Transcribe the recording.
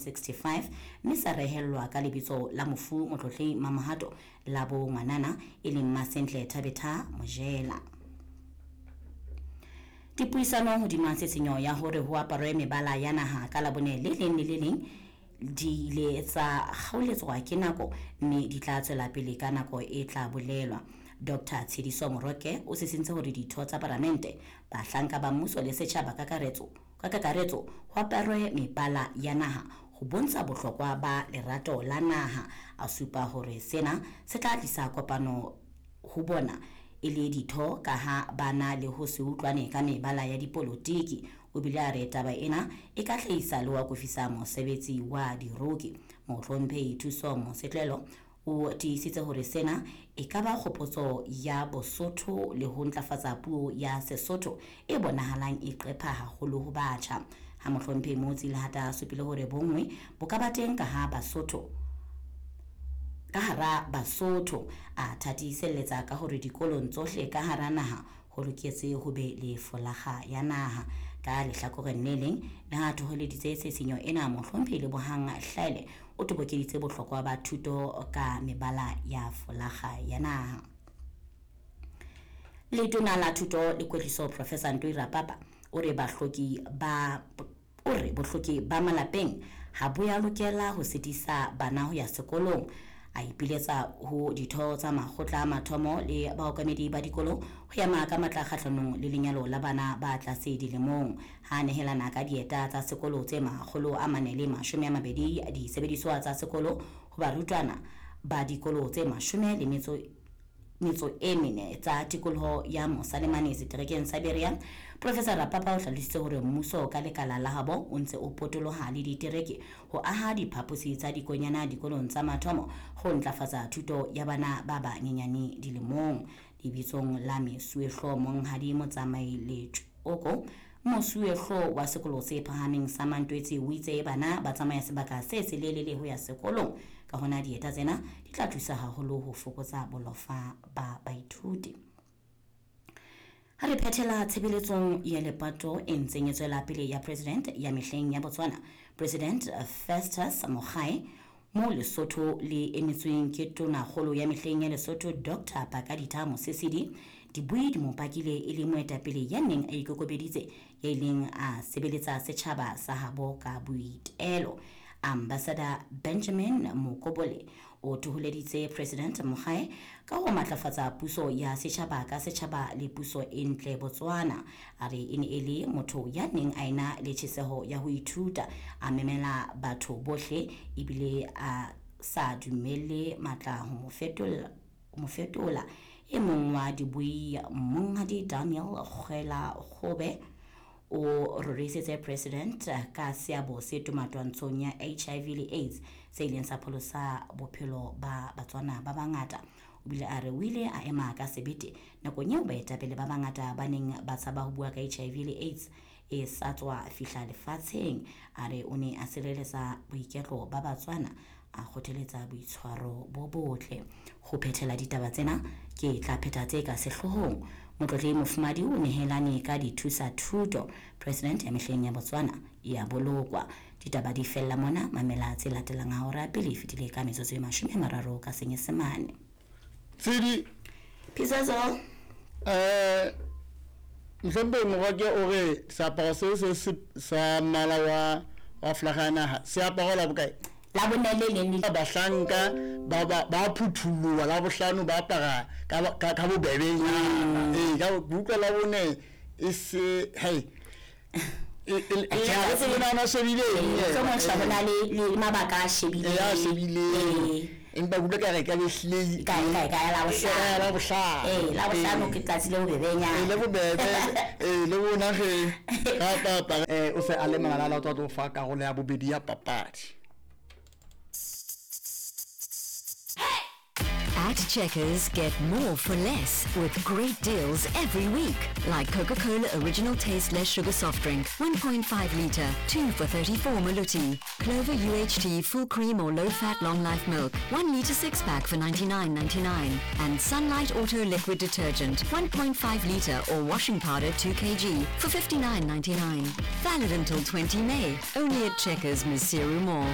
65 mme sa rehellwa ka lebitso la mofu Motlotlehi Mamohato la bo ngwanana e leng Masentle Thabetha Mojela. Dipuisano hodima tshitshinyo ya hore ho aparwe mebala ya naha ka Labone le leng le le leng di ile tsa kgaoletswa ke nako mme di tla tswela pele ka nako e tla bolelwa. Dr Tshediso Moroke o sisintse hore ditho tsa palamente, bahlanka ba mmuso le setjhaba ka kakaretso ho aparwe mebala ya naha ho bontsha bohlokwa ba lerato la naha. A supa hore sena se tla tlisa kopano ho bona e le ditho ka ha ba na le ho se utlwane ka mebala ya dipolotiki. O bile a re taba ena e ka hlahisa le ho akofisa mosebetsi wa diroki. Mohlomphehi Thuso Mosetlelo o tiisitse hore sena e ka ba kgopotso ya Bosotho le ho ntlafatsa puo ya Sesotho e bonahalang e qepha haholo ho batjha. Ha Mohlomphehi Motsi Lehata a supile hore bonngwe bo ka ba teng ka ha Basotho ka hara Basotho, a thatiselletsa ka hore dikolong tsohle ka hara naha ho loketse ho be le folaga ya naha. Ka lehlakoreng le leng, le ha thoholeditse tshisinyo ena, Mohlomphehi Lebohang Hlaele o tobokeditse bohlokwa ba thuto ka mebala ya folaga ya naha. Letona la Thuto le Kwetliso Professor Ntoi Rapapa o re bohloki ba malapeng ha bo ya lokela ho sitisa bana ho ya sekolong. A ipiletsa ho ditho tsa makgotla a mathomo le baokamedi ba dikolo ho ema ka matla kgahlanong le lenyalo la bana ba tlase dilemong. Ha nehelana ka dieta tsa sekolo tse 420 disebediswa tsa sekolo ho barutwana ba dikolo tse 14 tsa tikoloho ya Mosalemane seterekeng sa Berea, Professor Rapapa o hlalositse hore mmuso ka lekala la habo o ntse o potoloha le ditereke ho aha diphaposi tsa dikonyana dikolong tsa mathomo ho ntlafatsa thuto ya bana ba banyenyane dilemong. Lebitsong la mesuwehlo Monghadi Motsamai Letšoko, mosuwehlo wa sekolo se phahameng sa Mantwetsi, o itse bana ba tsamaya sebaka se selelele ho ya sekolong, ka hona dieta tsena di tla thusa haholo ho fokotsa bolofa ba baithuti. Ha re phethela tshebeletsong ya lepato e ntseng e tswela pele ya president ya mehleng ya Botswana, President Festus Mogae, mo Lesotho le emetsweng ke tonakgolo ya mehleng ya Lesotho Dr Pakaditha Mosesedi, dibui di mo pakile e le moetapele ya neng a ikokobeditse ya ileng a sebeletsa setjhaba sa habo ka boitelo. Ambassador Benjamin Mokobole o thoholeditse President Mogae ka ho matlafatsa puso ya setjhaba ka setjhaba le puso e ntle Botswana. A re e ne e le motho ya neng a ena le tjheseho ya ho ithuta, a memela batho bohle ebile a sa dumelle matla ho mo fetola. E mong wa dibui Monghadi Daniel Kgwela Kgobe o rorisitse President ka seabo se tomatwantshong ya HIV le AIDS se ileng sa pholosa bophelo ba Batswana ba bangata. O bile a re o ile a ema ka sebete nakong eo baetapele ba bangata ba neng ba tshaba ho bua ka HIV le AIDS e sa tswa fihla lefatsheng. A re o ne a sireletsa boiketlo ba Batswana, a kgothaletsa boitshwaro bo botle. Ho phethela ditaba tsena ke tla phetha tse ka sehloohong. Motlotlehi Mofumadi o nehelane ka dithusa thuto President ya mehleng ya Botswana ya bolokwa. Ditaba di fella mona, mamela tse latelang ha hora pele e fetile ka metsotso e 30 ka Senyesemane. Tsedi Phisazo Mhlomphehi Moroke o re seaparo se se sa mmala wa flaga ya naha se aparo la bokae? La bone le leng le bahlanka ba phuthuloha la bohlano ba apara ka bobebenyana. Ka utlwa la bone e se hei e se na shebile eng motho bona le mabaka a shebile ya shebile empa kutlwa ka re ka behlile ka la bohlano la bohlano la bohlano ke tsatsi le bobebenyana le bobebe le bona ge ka papa o se a le malala o tlo fa karolo ya bobedi ya papadi. At Checkers, get more for less with great deals every week. Like Coca-Cola Original Taste Less Sugar Soft Drink, 1.5 litre, 2 for 34 Maluti. Clover UHT Full Cream or Low Fat Long Life Milk, 1 litre 6 pack for 99.99. And Sunlight Auto Liquid Detergent, 1.5 litre or washing powder 2 kg for 59.99. Valid until 20 May. Only at Checkers, Maseru Mall.